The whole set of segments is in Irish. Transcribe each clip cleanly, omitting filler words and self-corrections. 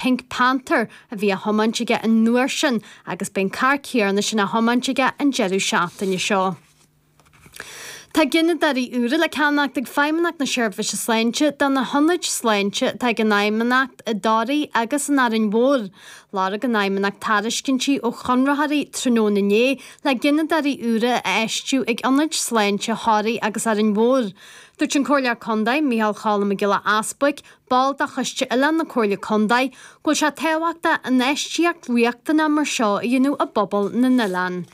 Pink Panther a bhí á thiomáint aige an uair sin agus beidh an carr céanna sin á thiomáint aige an deireadh seachtaine seo. Tá gineadóirí úra le ceannacht ag Feidhmeannacht na Seirbhíse Sláinte do na hionaid sláinte atá ag an Fheidhmeannacht i dToraigh agus in Árainn Mhór. Lorg an Fheidhmeannacht tairiscintí ó chonraitheoirí tráthnóna inné le gineadóirí úra a fheistiú ag ionaid sláinte Thoraí agus Árainn Mhór. Dúirt an Comhairleoir Contae, Micheál Cholm Mac Giolla Easbuic, ball de Choiste Oileán na Comhairle Contae, go bhfuil sé tábhachtach infheistíocht riachtanach mar seo a dhéanamh i bpobal na n-oileán.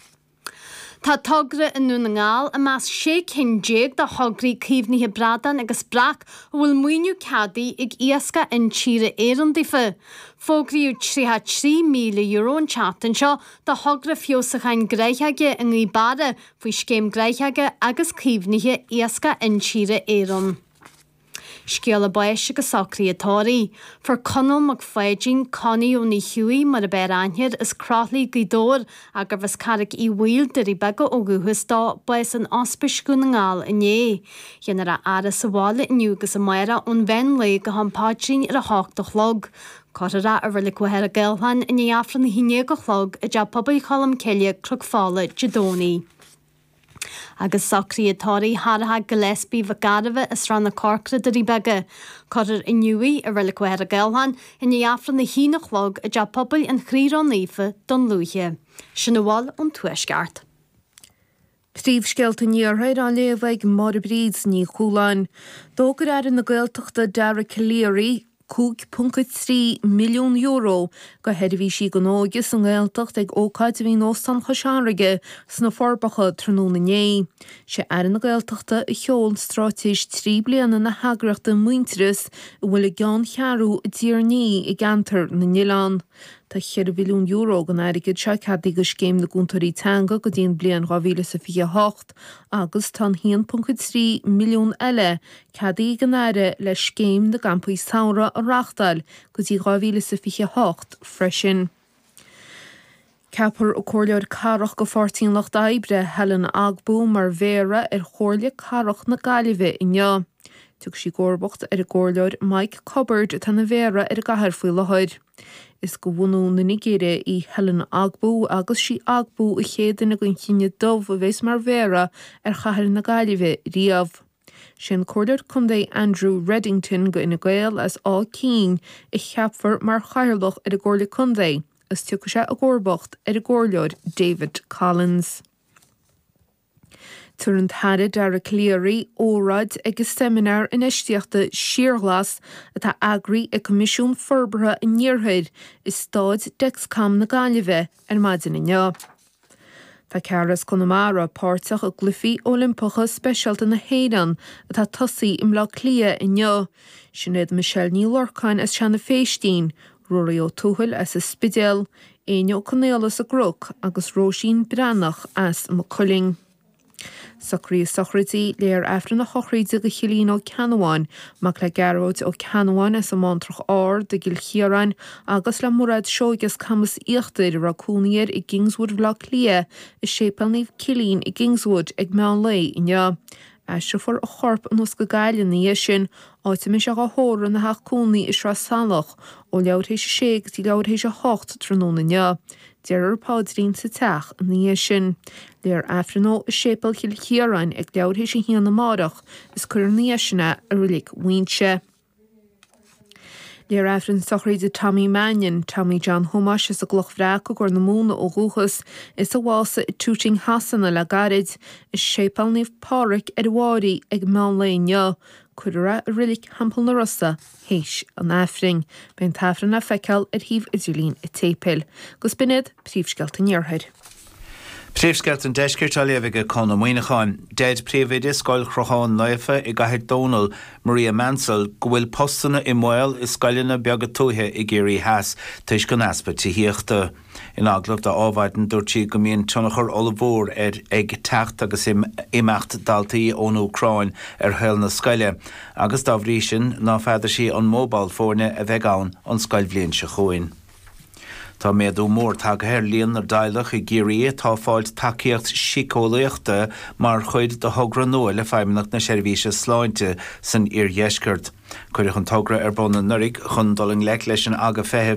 Tá togra i nDún na nGall i measc 16 cinn de thograí caomhnaithe bradán agus breac a bhfuil maoiniú ceadaithe ag Iascach Intíre Éireann daofa. Fógraíodh €33,000 an tseachtain seo do thogra feabhsúcháin gnáthóige i nGaoth Beara faoi Scéim Gnáthóige agus Caomhnaithe Iascach Intíre Éireann. Scéala báis agus socruithe tórraimh. Fuair Conall Mac Pháidín, Connie Ó Ní Chuaigh mar ab fhearr aithne air, as Croithlí, Gaoth Dobhair, gurbh as Carraig Uí Bhaoill, Doirí Beaga ó dhúchas dó, bás in Ospís Dhún na nGall inné. Déanfar a fhaire sa bhaile inniu agus amárach ón mheán lae go ham paidrín ar a hocht a chlog. Cuirfear é i Reilig Mhachaire Gathlán i ndiaidh Aifreann a haon déag a chlog i dTeach Pobail Cholm Cille, Cnoc Fola, Dé Domhnaigh. Agus socruithe tórraimh Tharraithe Gillespie Mhic Gairbheith as Srath na Corcra, Doirí Beaga. Cuirfear inniu í i Reilig Mhachaire Gathlán i ndiaidh Aifreann a haon a chlog i dTeach Pobail an Chroí Ró-Naofa, Dún Lúiche. Sin a bhfuil ón Tuaisceart. Príomhscéalta an Iarthair á léamh ag Máire Bríd Ní Chualáin. D'fhógair Aire na Gaeltachta Dara Calleary, €5.3 milliún do sheirbhísí don óige sa nGaeltacht ag ócáid a bhí in Óstán Chois Fharraige sna Forbacha tráthnóna inné. Sé Aire na Gaeltachta a sheol straitéis 3 bliana na heagraíochta Muintearas a bhfuil a gceanncheathrú i dTír an Fhia i gCeantar na nOileán. Tá €4 mhilliún den airgead seo ceadaithe do Scéim na gCúntóirí Teanga go dtí an bhliain 2028 agus tá an 1.3 milliún eile Ceadaithe ag an Aire le Scéim na gCampaí Samhraidh a reáchtáil go dtí 2028 freisin. Ceapfar an Comhairleoir Cathrach do Pháirtí an Lucht Oibre, Helen Ogbu, mar Mhéara ar Chomhairle Cathrach na Gaillimhe inniu. Tiocfaidh sí i gcomharbacht ar an gComhairleoir Mike Cubbard atá ina Mhéara ar an gcathair faoi láthair. Is de bhunú na Nigéire í Helen Ogbu agus sí Ogbu an chéad duine den chine dubh a bheas mar Mhéara ar chathair na Gaillimhe riamh. Sé an Comhairleoir Contae Andrew Reddington go Fhine Gael as Áth Cinn a cheapfar mar Chathaoirleach ar an gComhairle Contae agus tiocfaidh sé i gcomharbacht ar an gComhairleoir David Collins. Tabharfaidh an tAire Dara Calleary óráid ag an Seimineár Infheistíochta Síorghlas atá eagraithe ag Coimisiún Forbartha an Iarthair i Staid Dexcom na Gaillimhe ar maidin inniu. Tá ceathrar as Conamara páirteach i gCluichí Oilimpeacha Speisialta na hÉireann atá ag tosaí i mBleá Cliath inniu. Sin iad Michelle Ní Lorcáin as Seanadh Phéistín, Ruairí Ó Tuathail as an Spidéal, Éinne Ó Conaola as an gCnoc agus Róisín Breathnach as Maigh Cuilinn. Socruithe sochraide, Léifear Aifreann a shochraide do Chillín Ó Ceannabháin, mac le Gearóid Ó Ceannabháin as an mBántrach Ard i gCill Chiaráin agus le Mairéad Seoige as Camas Íochtair a raibh cónaí air i gKingswood Bhaile Átha Cliath i Séipéal Naomh Cillín i gKingswood ag meán lae inniu. Aistreofar a chorp anuas go Gaillimh ina dhiaidh sin, áit a mbeidh sé dhá thórramh ina theach cónaí i Sraith Salach ó leathuair théis a sé go dtí leathuair théis a hocht tráthnóna inniu. Déarfar paidrín sa teach ina dhiaidh sin. Léifear Aifreann dó i Séipéal Chill Chiaráin ag leathuair théis a haon amárach is cuirfear ina dhiaidh sin é i Reilig Mhuighinse. Léifear Aifreann sochraide Tommy Mannion, Tommy John Thomáis as an gCloch Bhreac i gCorr na Móna ó dhúchas, is a bhásaigh i Tooting Shasana le gairid, i Séipéal Naomh Pádraig ar an bhFáirí ag meán lae inniu. Cuirfear é i Reilig Theampall na Rosa. théis an Aifrinn. Beidh an tAifreann le feiceáil ar shuíomh idirlín an tséipéil. Agus b'in iad príomhscéalta an Iarthair. Príomhscéalta an Deiscirt á léamh ag Conn Ó Muíneacháin. Deir Príomhoide Scoil Chrocháin Naofa i gCathair Dónall, Maria Mansell, go bhfuil postanna i mbaol i scoileanna beaga tuaithe i gCiarraí Theas toisc an easpa tithíochta. In agallamh do Adhmhaidin dúirt sí go mbíonn tionchar ollmhór ar ag teacht agus imeacht daltaí ón Úcráin ar shaol na scoile agus dá bhrí sin ná feadar sí an mó ball foirne a bheidh ann an scoilbhliain seo chugainn. Tá méadú mór tagtha ar líon na dteaghlach i gCiarraí atá ag fáilt tacaíocht síceolaíochta mar chuid de thogra nua le Feidhmeannacht na Seirbhíse Sláinte san iardheisceart. Cuireadh an togra ar bun anuraidh chun dul i ngleic leis an aga feithimh.